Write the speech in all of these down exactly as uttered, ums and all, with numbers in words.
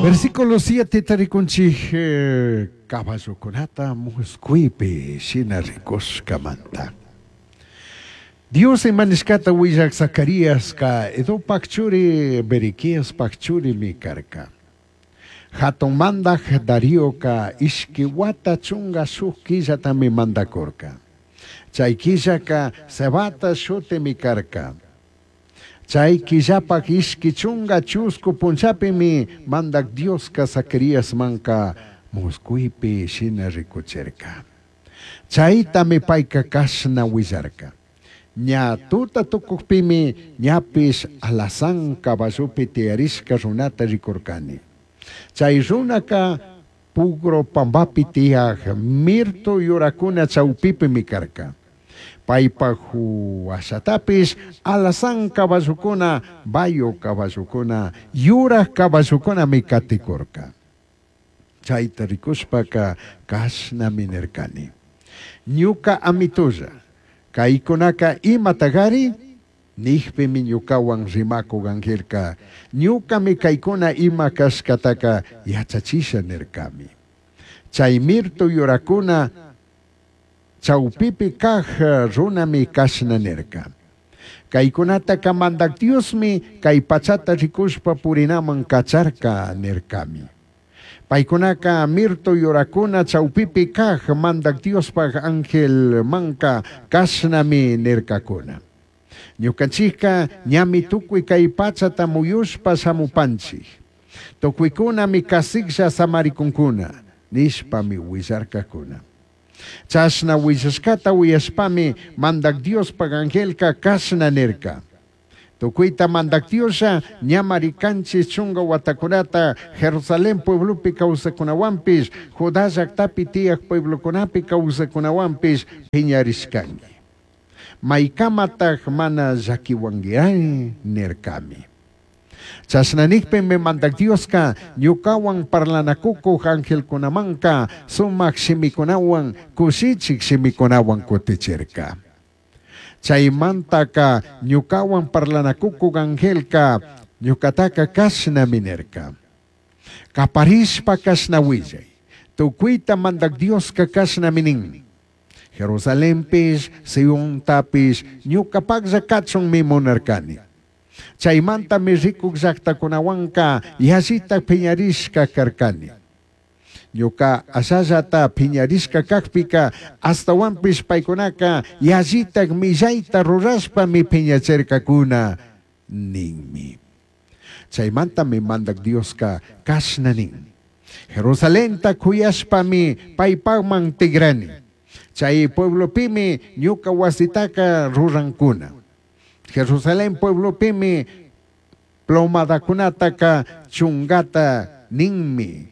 Versículo siete tarikunchik eh, caballokunata musquypi shina rikushkamanta. Dios imanishkata willak Zacaríasqa Iddopak churi Berequiaspak churimi karka. Hatun mandaj Darioka ishki wata chunga shuk killatami mandakurka. Chay killaka Sebata shutimi karka. Chay killapak ishki chunga chusku punchapimi mandak Dioska Zacaríasmanka musquypi shina rikuchirka. Chaytami payka kashna willarka. Ña tuta tukukpimi ñapish alazán caballopi tiyarishka runata rikurkani. Chay runaka pugro pambapi tiyaj mirto yurakuna chawpipimi karka. Paypak huashatapish alazán caballukuna, bayo caballukuna, yuraj caballukunami katikurka. Chayta rikushpaka kashnami nirkani. Ñuka amitulla, kaykunaka imatagari? Nijpimi ñukawan rimakuk angelka, ñukami kaykuna ima kashkataka yachachisha nirkami. Chay mirto yurakuna chawpipi kaj runami kashna nirka. Kaykunataka mandak Diosmi kay pachata rikushpa purinaman kacharka nirkami. Paykunaka mirto yurakuna chawpipi kaj mandak Diospaj ángel manka kashnami nirkakuna. Ñukanchikka ñami tukuy kay pachata muyushpa shamupanchik. Tukuykunami kasiklla samarikunkuna, nishpami willarkakuna. Chashna willashkata uyashpami mandak Diospaj angelka kashna nirka. Tukuyta mandak Dioslla ñamari kanchis chunga watakunata Jerusalén pueblopi kawsakunawanpish, Judá llaktapi tiyaj pueblokunapi kawsakunawanpish piñarishkanki. Maykamataj mana llakiwankiray nirkami. Chashna nikpimi mandak Dioska ñukawan parlanakukuj angelkunamanka sumak shimikunawan kushichik shimikunawan kutichirka. Chaymantaka ñukawan parlanakukuj angelka ñukataka kashnami nirka. Kaparishpa kashna willay. Tukuyta mandak Dioska kashnami nin. Jerusalenpish, Siontapish, ñukapaklla kachunmi munarkani. Chaymantami rikuk llaktakunawanka yallita piñarishka karkani. Ñuka ashallata piñarishka kakpika astawanpish paykunaka yallitak millayta rurashpami piñachirkakuna ninmi. Chaymantami mandak Dioska kashna nin. Jerusalenta kuyashpami paypakman tigrani. Chay pueblopimi ñuka wasitaka rurankuna. Jerusalén pueblopimi plomadakunataka chungata ninmi.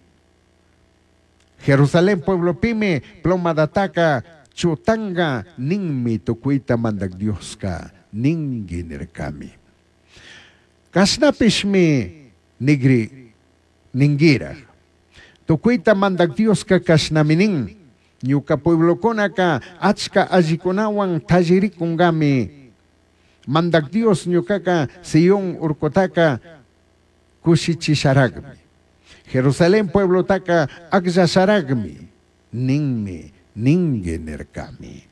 Jerusalén pueblopimi plomadataka chutanga ninmi tukuyta mandak Dioska ningi nirkami. Kashnapishmi nigri ningira. Tukuyta mandak Dioska kashnami nin. Ñuka pueblokunaka achka allikunawan tallirikunkami. Mandak Dios ñukaka Sion urkutaka kushichisharagmi. Jerusalén pueblotaka akllasharagmi. Ninmi, ningi nirkami.